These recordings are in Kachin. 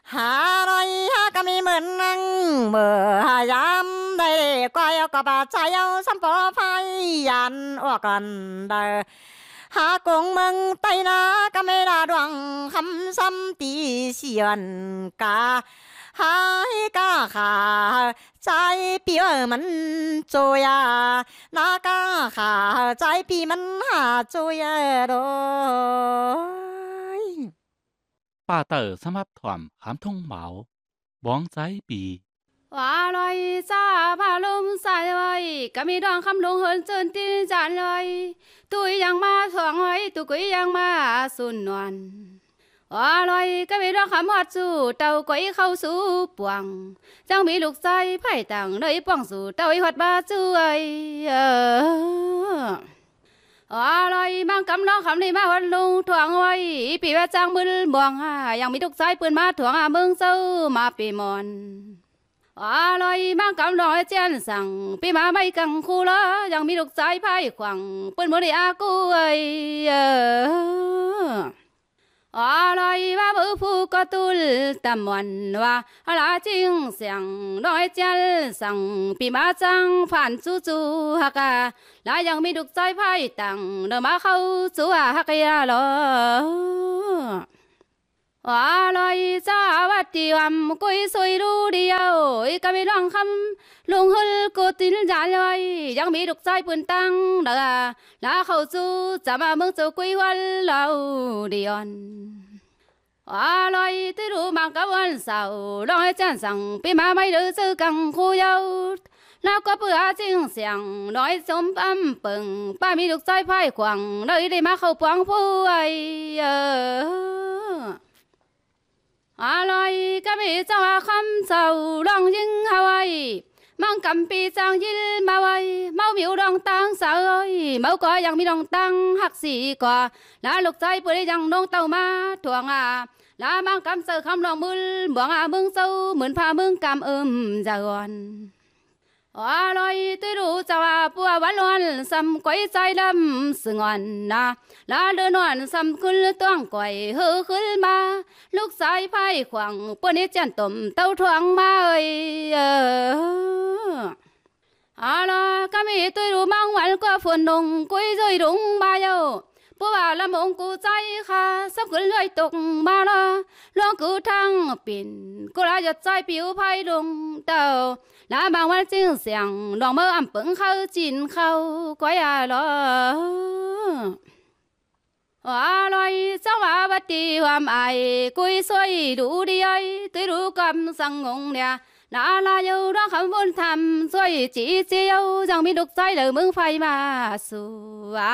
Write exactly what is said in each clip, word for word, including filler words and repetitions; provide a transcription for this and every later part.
Haloi ha kami menang me hayam dai koi kop a chayau sampo phai yan o kan dai. Ha kung meng tai na kame na duang ham sam ti si yuan ka. Hai ka ha chai pi o man cho ya. Na ka ha chai pi man ha cho ya doi. ပါတႂ်ႇသမ်ႉႁပ်ႉထွမ်ႇၶၢမ်ႇထုင်းမၢဝ်ႇ ဝွင်းၸႂ်ပီ Wa loi tsa hpa lum sai ai, kami dawng hkam lung hun tsun tin jan ai, tui yang ma suang ai, tu gwi yang ma sun nawn. Wa loi kami dawng hkam hawt su, tau koi hkau su pwang, jang mi luk tsai hpai tang, noi pawng su, tau i hawt ma su ai. Wa loi mang kam nawng hkam ni ma wan lung htuang woi, ipi wa tsang mul mawng a, yang mi duk tsai pun ma htuang a, mung tsau ma pi mawn. Wa loi mang kam nawng e chyen sang, pi ma mai kang hku la, yang mi duk tsai hpai hkuang, pun mu ni a ku ai. Wa loi wa bu hpu katul tam wan wa, a la ching siang, nawng e chyen sang, pi ma tsang hpan tsu tsu hak a, la yang mi duk tsai hpai tang, na ma hkau tsu a hak ya law. Wa loi tsa wat ti wam, gwi sui lu di yau, i kami lawng hkam, lung hul ku tin ja loi, yang mi duk tsai pun tang, na, la hkau tsu, tsam a mung tsu gwi wan lau di yawn. Wa loi tui lu mang kap wan sau, lawng e chyen sang, pi ma mai lu tsu kang hku yau, na kawp a ching siang, lawng e sum pam peng, pa mi luk tsai hpai hkuang, loi li ma hkau pawng hpu ai. A loi kami tsawng a hkam sau, lawng ying hau ai, mang kam pi tsang yil mau ai, mau miu lawng tang sau ai, mau gaw yang mi lawng tang hak si gaw, la luk tsai put e yang nawng tau ma htuang a, la mang kam sau hkam lawng mul, mawng a mung tsau, mun hpa mung kam um za gawn. Wa loi tui lu tsau a pu a wan lawn sam koi tsai lam sangawn na, la le nawn sam kul tuang koi hu hul ma, luk tsai hpai hkuang pun i chyen tum tau htuang ma ai. A la kami tui lu mang wan kua hpun nung gwi zoi rung ma yau, pu wa lam mung ku tsai hka, sap kul yoi tuk ma la, lawng ku htang pin, ku la yat tsai piu hpai lung tau, la mang wan tsing siang, lawng mau am peng hkau chin hkau, koi a law. Wa loi tsawng wa wat di wam ai, gwi soi lu di ai, tui lu kam sang ngung lia, na la yau lawng hkam bun htam, soi chyi chye yau, jang mi luk tsai lau mung hpai ma su a,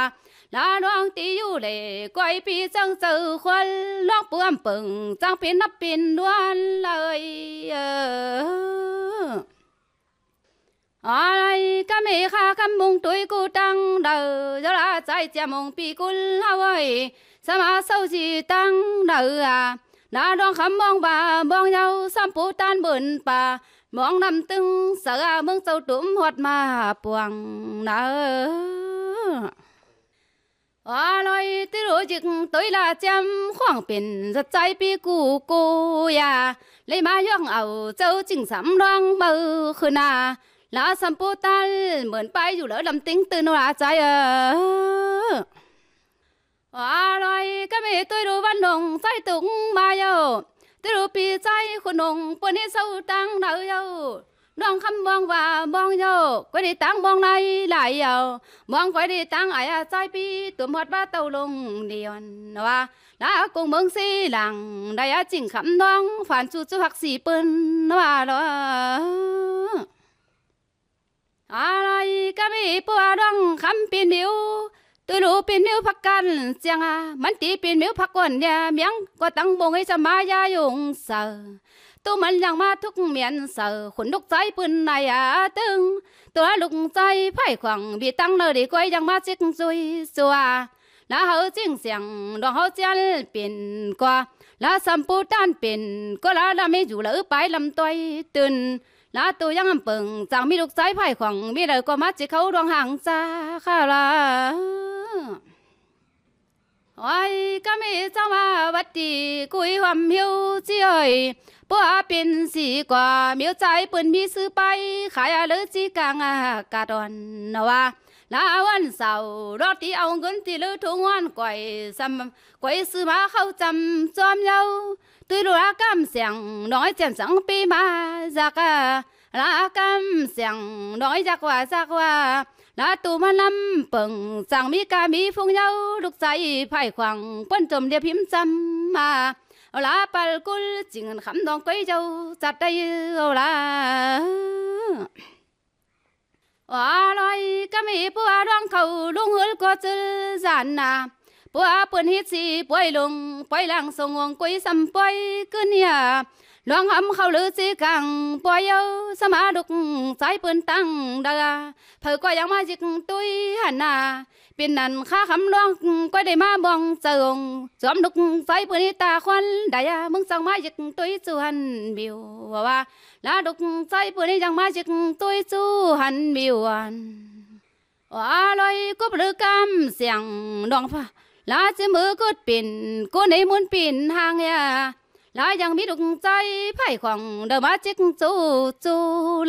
la lawng ti yu le, koi pyi tsang tsau hkual, lawng pu am peng, tsang pyin nap pyin wan lai. Ai, kami hka hkam mung tui ku tang dau, yawla tsai chyam mung pyi kul hau ai, sama sau si tang dau a, na dawng hkam mawng ba mawng yau, sampu tan bun pa, mawng nam tung sa a, mung tsau tum hawt ma puang na. Wa loi tui lu jik tui la chyam hkuang pyin, zat tsai pyi ku ku ya, lei ma yawng au, tsau chyingsam lawng mau hkun a, la sampu tal, mun pai yu lou lam ting tun wa tsai a. Wa loi kami tui lu wan nung tsai tung ma yau, tui lu pyi tsai hkun nung, pun i sau tang dau yau, Nawng hkam mawng wa mawng yau, koi di tang mawng lai lai yau, mawng koi di tang ai a tsai pyi, tum hawt wa tau lung ni yawn wa, na kung mung si lang, dai a chyinghkam nawng, hpan chu chu hak si pun wa law. Alai kami pu a nawng hkam pyin myu, Tulu pyin myu hpak kan chyang a, manti pyin myu hpak gawn ya myang, kawtang bung e sha ma ya yung sa, tu man yang ma htuk myan sa, hkun luk tsai pun ai a teng, tu a luk tsai hpai hkuang, bi tang na di koi yang ma chik zui sua, la hau ching syang, dawng hau chyal pyin kwa, la sampu tan pyin kwa, la lam e yu la u pai lam toi tun, La tu yang npung, tsang mi luk tsai hpai hkuang, mi lai kaw ma chye hkau rawng hang tsa hka la. Oi, kami tsawm a wat di, kui hawm hyu chi oi, pua pin si kwa, miu tsai pun mi su pai, hkaya lu chi kang a, ka tawn na wa, la wan sau, rawt di au gun ti lu htung wan koi, sam, koi su ma hkau tsam tsawm yau, tui lu a kam seng, nawng ai jen tsang pi ma, zak a, la kam seng, nawng ai jak wa, zak wa, la tu ma lam peng, tsang mi ka mi hpung yau, luk tsa i hpai hkuang, pon tum liep him tsam ma, la pal kul, jing hkam dawng koi jau, zat dai, o la. Wa loi kami pua luang hkau lung hul kaw zul zan na, pua pun hit si poi lung, poi lang sung wong kui sam poi kun ya, luang ham hkau lu si kang poi yau, sama luk tsai pun tang da, hpau kaw yang ma yik tui han na, pin nan hka hkam luang koi dai ma mawng tsau, zawm luk tsai pun i ta hkwan dai a, mung tsang ma yik tui tsu han biu wa wa, la luk tsai pun i yang ma yik tui tsu han biu wan. Wa loi kup lu kam siang nawng hpa, la tsim u kut pin, kun i mun pin hang ya, la yang mi luk tsai hpai hkawng, dau ma cik tsu tsu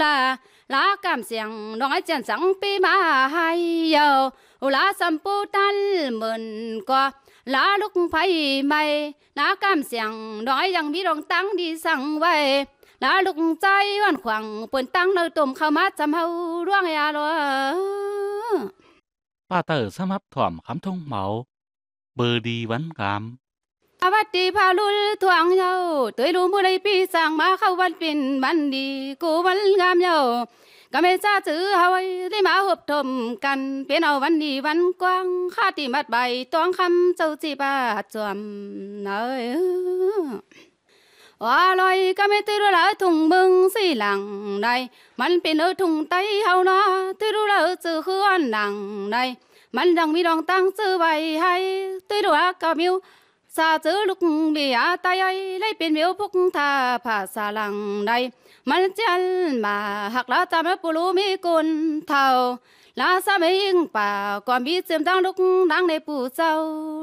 la, la kam siang nawng ai jen tsang pi ma hai yau, u la sam pu tal mun kaw, la luk hpai mai, la kam siang nawng ai yang mi rawng tang di sang wai, la luk tsai wan hkuang, pun tang nau tum hkau ma tsam hau ruang ya law. Pa tau samap htawm hkam htung mau, budi wan gam. Awat di hpa lul htuang yau, tui lu mu lai pi sang ma hkau wan pin man di, ku wan gam yau. Kame tsa tsu hawai, lima hup htum kan, pin au wan di wan kuang, hka ti mat bai, tawng hkam tsau tsi pa tsawm na. Wa loi kame tui ru la htung mung si lang nai, man pin u htung tai hau na, tui ru la tsu hu an lang nai, man dang mi dawng tang tsu bai hai, tui ru a ka miu, sa tsu luk mi a tai ai, lai pin miu hpuk hta hpa sa lang nai, man chian ma hak la tam ai pulu mi kun htau, la sa mi ing pa, kawm bi tsim dang luk nang ne pu tsau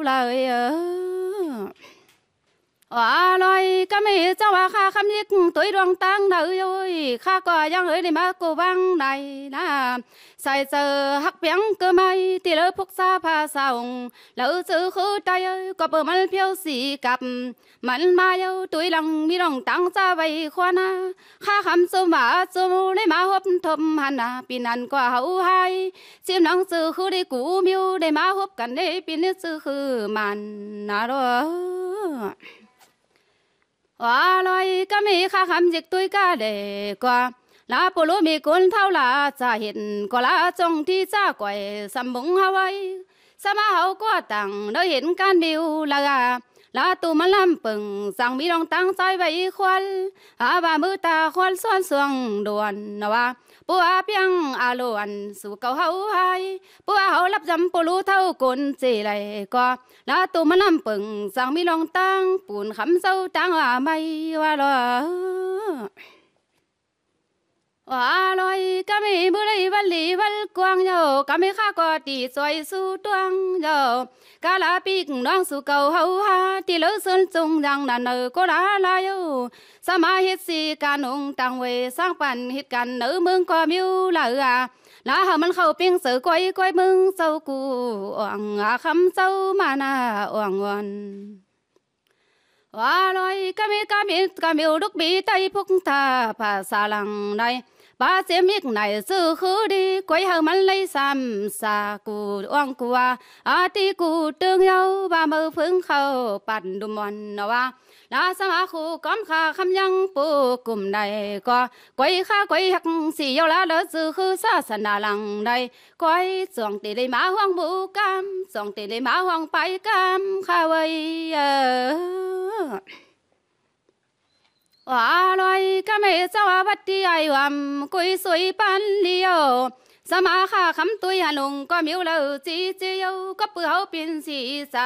la e. Wa loi kami tsawng wa hka hkam yik tui ruang tang na ui ui, hka kaw yang ui ni ma ku bang nai na, sai tsau hak piang kamai, ti lo hpuk sa hpa sa ung, lo tsu hu tai ui, kawp u mal hpyau si kap, man ma yau tui lang mi rawng tang tsa bai hkwa na, hka hkam tsum ma tsum u, ni ma hop nhtawm han na, pyi nan kaw hau hai, Tsim nang tsu hu di ku miu de ma hup kan de pyi ni tsu hu man na ro. Wa loi kami hka hkam jik tui ka de kwa, la pulu mi kun htau la tsa hit kwa la tsawng hti tsa koi sambung hawai, sama hau kwa tang doi hit kan miu la ga, la tu malam peng, tsang mi rawng tang tsai bai hkual, a wa mu ta hkual suan suang dawn na wa, pu a pyang a lawan su kau hau hai, pu a hau lap jam pulu htau kun tse lai kaw, la tu malam peng, tsang mi rawng tang, pun hkam sau tang a mai wa law. Wa loi kami mu lai wal li wal kuang yau, kami hka kaw ti tsoi su tuang yau, ka la pik nawng su kau hau ha, ti lo sun tsung yang nan nau ko la la yau, sama hit si ka nung tang woi, sang pan hit kan nau mung kaw miu la a, la hau man hkau ping sau koi koi mung sau ku, awng a hkam sau ma na awng wan. Wa loi kami kami kamiu luk mi tai hpuk hta hpa sa lang nai, pa tsim ik nai tsu hu di, koi hau man lai sam sa ku awng ku wa, a ti ku tung yau ba mau hpung hkau pat dum wan na wa, la sama hku kawm hka hkam yang pu kum nai kaw, koi hka koi hak si yau la lo tsu hu sa sa na lang nai, Koi, tsawng te le ma hawng bu kam, tsawng te le ma hawng pai kam, hka woi, eh. Wa loi kam e tsawng a wat di ai wam, kui sui pan li o. Sama hka hkam tui han lung, kawm yu lo, tsi tsi yo, kawp pu hau pyin si sa.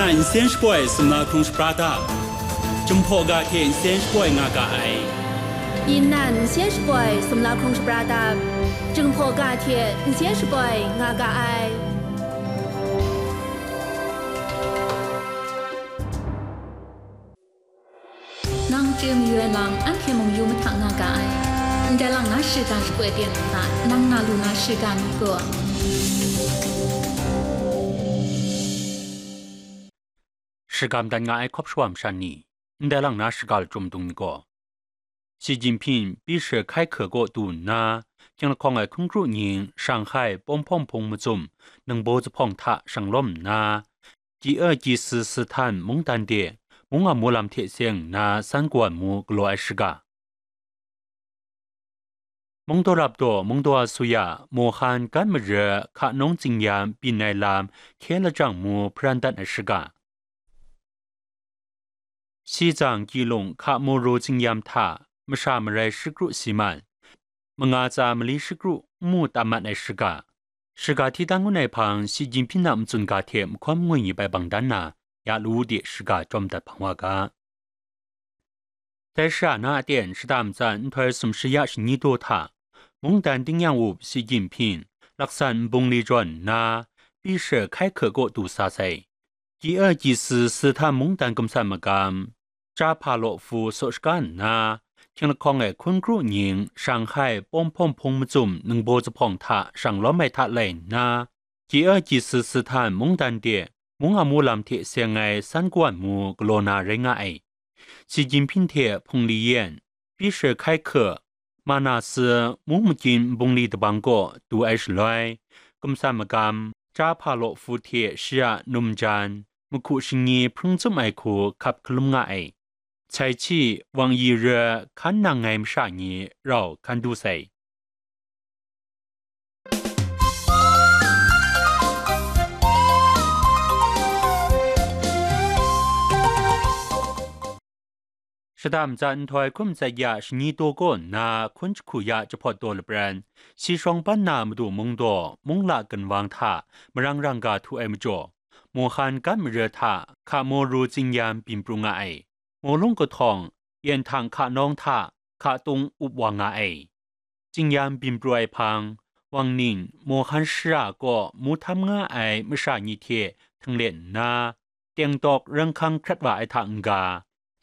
nan nsen shapoi sumla hkrung shapra ta? Chyum hpaw ga hte nsen shapoi nga ga ai. Yin nan nsen shapoi sumla hkrung shapra ta? Jinghpaw ga hte n se shapoi nga ga ai. Nang chye mayu ai lam, anhte mung yu mahta nga ga ai. Ndai lang na shiga shapoi ten hta, nang na lu na shiga mi gaw, shagam dan nga ai hkawp shawa masha ni, ndai lang na shiga lachyum dung mi gaw, Xi Jinping Bishop hkai hke kaw du nna, hkying lahkawng ai hkun kru nying Shanghai Pawng Hpawng Hpung Mazum ningbaw zuphpawng hta shang lawm nna, G E G S S tan mungdan de mung a mu lam hte seng nna san kawan mu galaw ai shiga. Mungdaw rap daw mungdaw asuya Mohan gat mare hka nawng tsingyam byin ai lam hkye lajang mu hparan dat ai shiga. Shizang Kyilung hka moru tsingyam hta masha marai shikru si man, manga tsa mali shikru n mu tam mat ai shiga. Shiga hti dan ngun ai hpang Xi Jinping a matsun ga hte mahkawn mangwi mi bai bang dan na, ya lawu de shiga chyawm dat hpang wa ga. Dai shara na aten shada matsan nhtoi sumshi ya shani daw hta, mungdan tingnyang up Xi Jinping laksan nbung li jawn nna, Bishop hkai hke kaw du sa sai. G E G S S tan mungdan gumsan magam, Cha Hpa Law Fu saw shaga nna, hkying lahkawng ai hkun kru nying Shanghai Pawng Hpawng Hpung Mazum ningbaw zuphpawng hta shang lawm ai hta lai nna, G E G S S tan mungdan de mung a mu lam hte seng ai san kawan mu galaw na rai nga ai. Xi Jinping hte Hpung Liyan, Bishop hkai hke, Manasi mung magyin nbung li dabang kaw du ai shaloi, gumsan magam, Cha Hpa Law Fu hte shi a numjan, mahku shingyi hpring tsum ai hku hkap hkalum nga ai. Cai Chi, Wang Yi re hkan nang ai masha ni rau hkan du sai. Shada matsan nhtoi hkum tsat ya shani daw kaw nna hkun jahku ya jahpawt daw lapran, si shawng ban na madu mungdaw mungla ginwang hta marang rang ga htu ai majaw, Mohan gat mare hta hka moru tsingyam byin pru nga ai. Mawlung kahtawng, yen htang hka nawng hta hka tung up wa nga ai. Tsingyam byin pru ai hpang, Wang Ning, Mohan shara kaw mu htam nga ai masha ni hte htinglet nna, tengtawk ranghkang hkrat wa ai hta n-ga,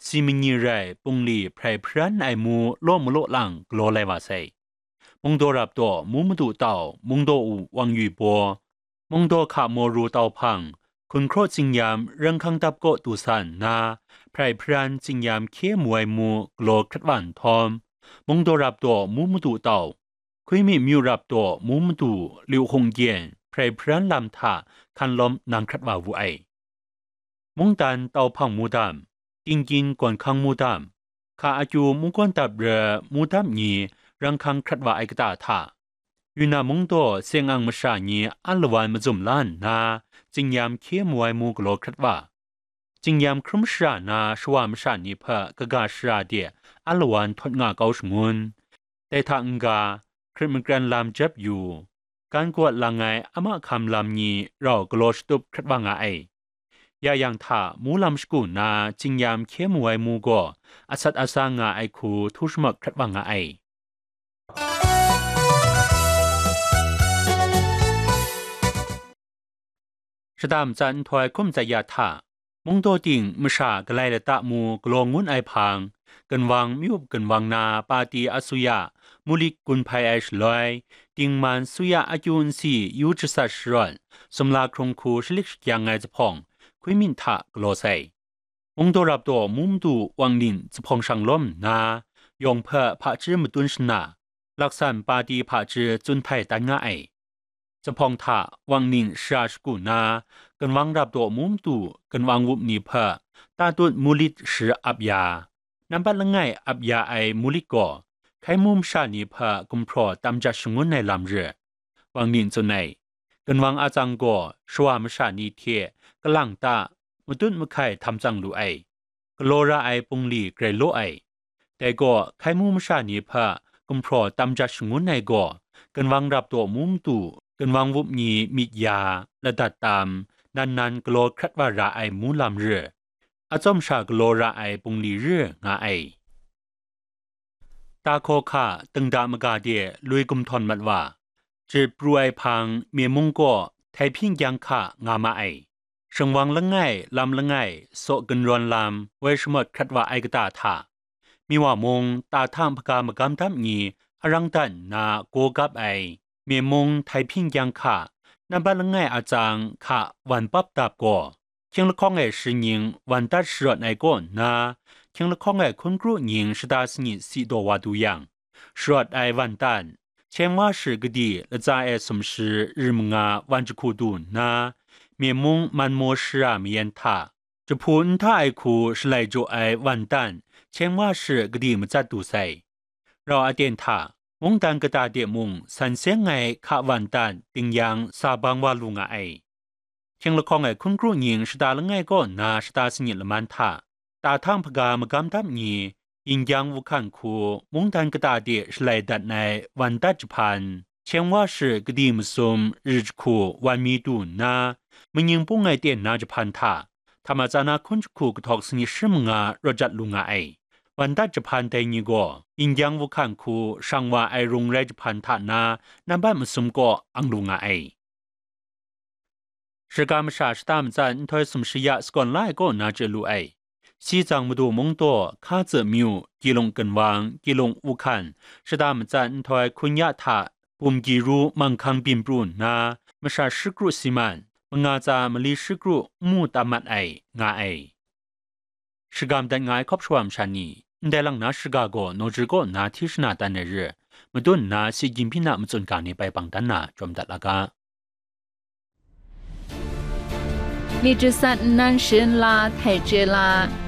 si manyi rai pungli hprai hparan ai mu law malaw lang galaw lai wa sai. Mungdaw rap daw mu madu tau, mungdaw u Wang Yui baw, mungdaw hka moru tau hpang, hkun hkraw tsingyam ranghkang dap kaw du sa nna, hprai hparan tsingyam hkye mu ai mu galaw hkrat wa nhtawm, mungdaw rap daw mu madu tau, Hkuiming myu rap daw mu madu Liu Hung Gyen hprai hparan lam hta hkan lawm nang hkrat wa wu ai. Mungdan tau hpang mu dam, Tingkyin gawn hkang mu dam, hka akyu mungkawn dap re mu dam ni ranghkang hkrat wa ai kata hta, Yunnan mungdaw seng ang masha ni alawan mazum la nna, tsingyam hkye mu ai mu galaw hkrat wa, tsingyam hkrum shara na shawa masha ni hpe kaga shara de alawan htawt nga kau shangun. Dai hta n-ga, hkrit makran lam jep yu, gan gawt lang ai a mahkam lam ni rau galaw shatup hkrat wa nga ai. Ya yang hta, mu lam shagu na tsingyam hkye mu ai mu gaw, asat asa nga ai hku htu shamak hkrat wa nga ai. Shada matsan nhtoi hkum tsat ya hta, mungdaw ting masha galai lata mu galaw ngun ai hpang, ginwang myu up ginwang na pati asuya mulit gun hpai ai shaloi, dingman suya akyu nsi yu jasat sharawt, sumla hkrung hku shalik shakyang ai zuphpawng, hkuiming hta galaw sai. Mungdaw rap daw mu madu Wang Ning zuphpawng shang lawm nna, yawng hpe hpaji matun shana, laksan pati hpaji tsun htai tan nga ai. Zuphpawng hta Wang Ning shara shagu na, ginwang rap daw mu madu ginwang wup ni hpe tatut mulit shi ap ya, nampat langai ap ya ai mulit gaw, hkai mu masha ni hpe gumhpraw tam jat shangun ai lam re. Wang Ning tsun ai, ginwang atsang gaw shawa masha ni hte kalang ta, matut mahkai htam tsang lu ai, galaw ra ai pungli grai law ai. Dai gaw, hkai mu masha ni hpe gumhpraw tam jat shangun ai gaw, ginwang rap daw mu madu, ginwang wup ni myit ya, ladat tam, nan nan galaw hkrat wa ra ai mu lam re, atsawm sha galaw ra ai pungli re nga ai. Tahkaw hka, dingda maga de lui gumhtawn mat wa, jahpru ai hpang, myen mung kaw Taiping kyang hka nga ma ai. Shingwang langai, lam langai, saw gunrawn lam, woi shamawt hkrat wa ai kata hta, Miwa mung, ta htang hpaga magam dap ni arang dan nna gaw gap ai, myen mung Taiping kyang hka, nambat langai a tsang hka wan pap dap gaw, hkying lahkawng ai shi nying wan dat sharawt ai kaw nna, hkying lahkawng ai hkun kru nying shata sanit si daw wa du yang, sharawt ai wan dan, Cheng Wa Shi Kadi latsa e sumshi ri manga wan jahku du nna, myen mung man maw shara mayan hta, jahpu nta ai hku shalai jaw ai wan dan, Cheng Wa Shi Kadi matsat du sai. Rau aten hta, mungdan kata de mung san seng ai hka wan dan ding yang sa bang wa lu nga ai. Hkying lahkawng ai hkun kru nying shata langai kaw nna shata sanit laman hta, ta htang hpaga magam dap ni, yin kyang wuhkan hku mungdan kata de shalai dat ai wan dat jahpan, Cheng Wa Shi Kadi masum ri jahku wan mi du nna, manying pung ai ten na jahpan hta, hta matsa na hkun jahku kahtawk sanit shi manga rawt jat lu nga ai. Wan dat jahpan dai ni gaw, yin kyang wuhkan hku shang wa ai rung rai jahpan hta na, nambat masum kaw ang lu nga ai. Shiga masha shata matsat nhtoi sumshi ya sagawn la ai kaw na chye lu ai. Sitsang Madu Mungdaw, Hka Tzu Myu, Kilung Gunwang, Kilung Uhkan, shata matsat nhtoi hkun ya hta, Bum Gyi Ru, Manghkang Byin Pru nna, masha shi kru si man, manga tsa mali shi kru n mu tam mat ai, nga ai. Shagam dat nga ai hkawp shawa masha ni, ndai lang na shiga gaw Nawjri kaw nna hti shana tan ai re, madun nna si gyim hpyi na matsun ga ni bai bang dan na jawm dat la ga. Myit jasat nnan sharin la, htai chye la.